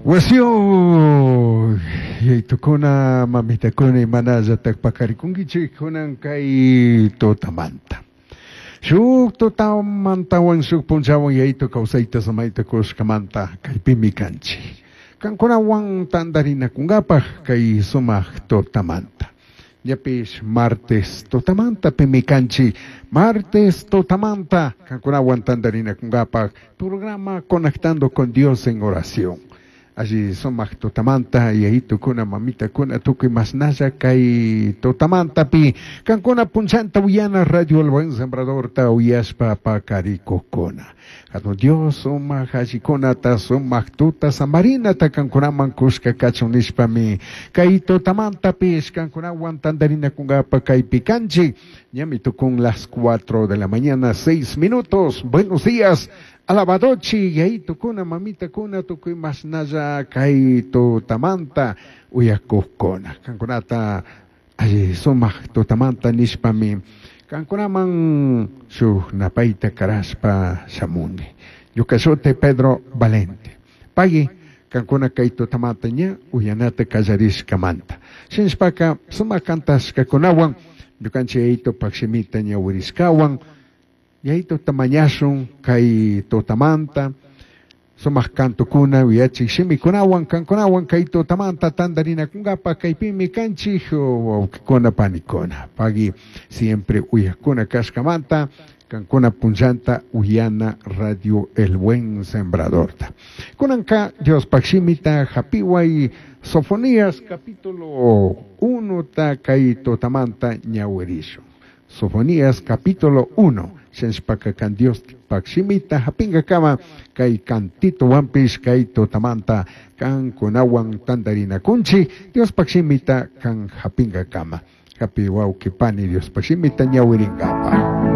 Wasiyo yaytukuna mamitakuna imanallatak pakarikunkichik kunan kay tutamanta. Shuk tutamantawan shuk punchawan yaytu kawsayta samayta kushkamanta kaypimi kanchik. Kankunawan tantarinakunkapaj kay sumak tutamanta. Ñapish martes tutamanta pimi kanchik. Martes tutamanta kankunawan tantarinakunkapaj programa Conectando con Dios en Oración. Alli sumak tutamanta yayitukuna mamitakuna tukuy masnalla kay tutamantapi kankuna punchanta uyana Radio El Buen Sembradorta uyashpa pakarikukuna. Hatun Dios sumak allikunata sumak tuta samarinata kankunaman kushka kachun nishpami kay tutamantapish kankunawan tantarinakunkapa kaypi kanchik. Ñami tukun las 4 de la mañana, 6 minutos. Buenos días. Alabadochi, yayitukuna, mamitakuna, tukuy masnalla kay tutamanta uyakukuna. Kankunata alli sumak tutamanta nishpami kankunaman shuk napayta karashpa shamuni. Ñuka shuti Pedro Valente. Pagui kankuna kay tutamanta ña uyanata kallarishkamanta. Shinashpaka sumak kantashkakunawan ñukanchik yayitupak shimita ñawirishkawan yayito tamañashun kay tutamanta sumak kantukuna uyachik shimikunawan kankunawan kay tutamanta tantarinakunkapa kaypimi kanchik wawqikuna panikuna. Pagui siempre uyakuna kashkamanta kankuna punchanta uyana Radio El Buen Sembradorta. Kunanka Diospaj shimita hapiway Sofonías capítulo 1 ta kay tutamanta ñawirishun. Sofonías capítulo 1. Shenshpaka kan Dios pak shimita hapingakama kay kantito wampish kay tutamanta kan kunawan tantarinakunchi Dios pak shimita kan hapingakama. Hapi wawqi pani Dios pak shimita ñawirinkapa.